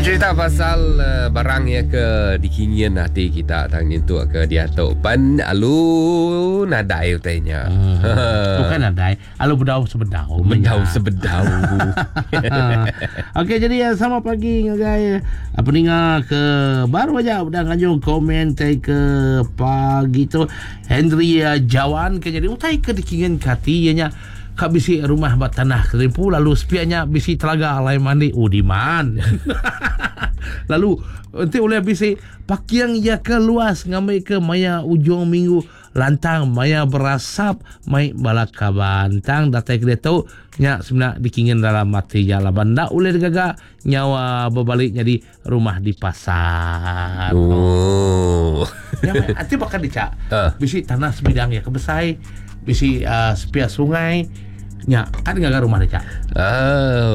bercerita pasal uh, barang ya ke dikingin hati kita tang nyentuk ke diatu pan alu nadai utainya. Hmm. Bukan nadai, alu bedau sebedau. Bedau sebedau. Okey, jadi ya, sama pagi ngagai eh, peninga ke baru aja udah ngajung komen tai ke pagi tu Henry eh, Jawan ke jadi utai ke dikingin ke hati ianya Ka bisi rumah ba tanah kerimpu lalu sepiak nya bisi telaga alai mandi. Oh diman. lalu enti ulih bisi parking iya ke luas ngambi ke maya ujung minggu lantang maya berasap mai bala kaban. Tang datai ke diatu nya semina dikingin dalam ati ja laban enda ulih digaga nyawa bebali nyadi rumah di pasar. Oh. Ya, ati baka dica. Uh. Bisi tanah sebidang ya ke besai, bisi uh, sepia sungai. Nya, kan ngaga rumah dica. Ah,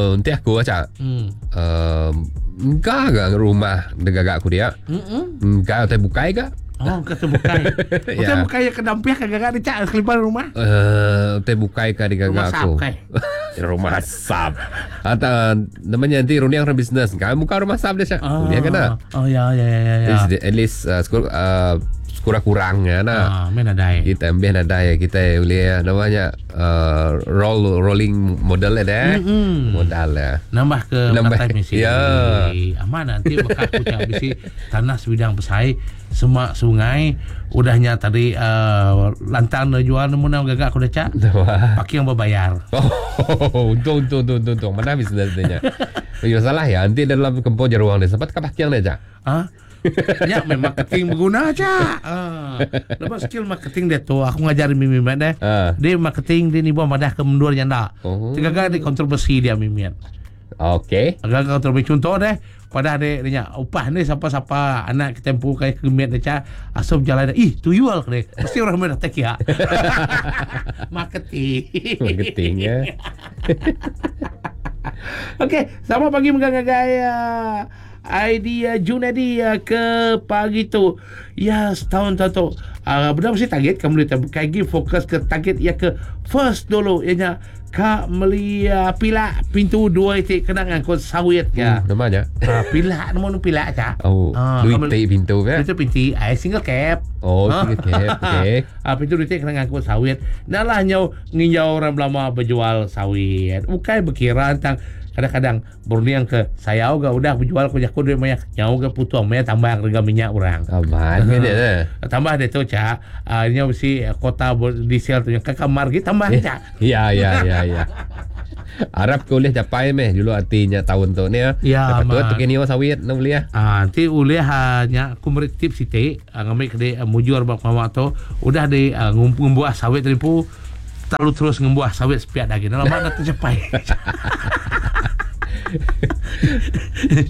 uh, enti aku aja. Hmm. Uh, enggak ga rumah degaga aku dia. Mm Enggak utai bukai ga. Oh, kata bukai. Ya. Utai bukai ya ke dampiah ke gaga dica kelipan rumah. Eh, utai bukai ka digaga Rumah aku. sap kai. Rumah sap. Atau namanya nanti runding orang bisnes. Kan buka rumah sap dia Syak. Oh. Dia kena. Oh ya ya ya ya. At least uh, sekur, uh, sekurang-kurangnya nah. Ah, main nadai. Kita ambil nadai kita boleh namanya uh, roll rolling modal lah dah. Mm-mm. Modal lah. Nambah ke Nambah. Nambah. misi. Ya. Aman nanti bakal aku cak bisi tanah sebidang besai semak sungai udahnya tadi uh, lantang dah jual nemu nak gagak aku dah cak. Parking berbayar. Oh, untung untung untung untung, untung. Mana bisnes dia? Ya salah ya, nanti dalam kempong jeruang dia sempat ke parking dia cak. Ha? Ya memang marketing berguna cak. Ha. Lepas skill marketing dia tu aku ngajar mimi mat deh. Ah. Dia marketing dia ni buat madah ke mendur nyanda. Oh. Tergagal di kontroversi dia mimi. Okey. Agak kontroversi contoh deh pada dia dia nya upah ni siapa-siapa anak kita empu kai kemit dia cak asup jalan dia ih tuyul ke dia mesti orang main datang kia marketing Marketing ya. Okey, selamat pagi megang gaya ID uh, Junedi uh, ke pagi tu. Ya, setahun tu tu. Uh, benar mesti target kamu boleh lagi fokus ke target ya ke first dulu ianya ka meli uh, pilak pintu dua itik kena ngangkut sawit ya. Namanya. Uh, pilak nama nu pilak cak. Oh, Ah, duit kamu- tik pintu ya. Pintu pintu ai single cap. Oh, single cap. Okey. Ah, pintu duit kena ngangkut sawit. Dah lah nyau nginjau orang lama berjual sawit. Bukan berkira tentang kadang-kadang berniang ke saya ga udah berjual ku jaku duit banyak nyau ga putung maya tambah harga minyak orang. Aman kan dia. eh? Tambah dia tu cak, ah, ini mesti kota diesel tu yang ke kamar kita tambah cak. Ya, ya, ya, ya. Arab ke boleh capai meh dulu artinya tahun tu ni ya. Ya, Lepas tu amat. tu kini sawit nak beli ya. Ah, nanti ulih hanya aku beri tips siti, ah, ngambil ke dia mujur bab mama tu udah di ah, ngumbuah sawit tadi pu terlalu terus ngembuah sawit sepiak lagi. Dalam mana tercapai.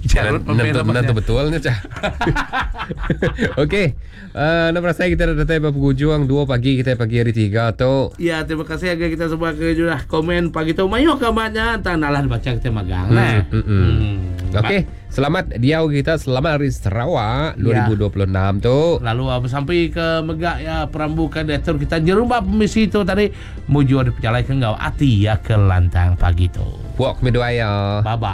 Jarut Nentu nentu betul ni cah. Okey. Uh, nak rasa kita dah datang pada penghujung 2 pagi kita pagi hari 3 tu. Ya, terima kasih agar kita semua ke sudah komen pagi tu. Mayu kabarnya entah nalah baca kita magang nah. Hmm, hmm, hmm. Okey, selamat diau kita selamat hari Sarawak Ya. 2026 tu. Lalu uh, sampai ke Megak ya perambu ke diatur kita jerumba pemisi tu tadi mujur diperjalai ke ngau ati ya ke lantang pagi tu. Puak kami doa ya. Bye bye.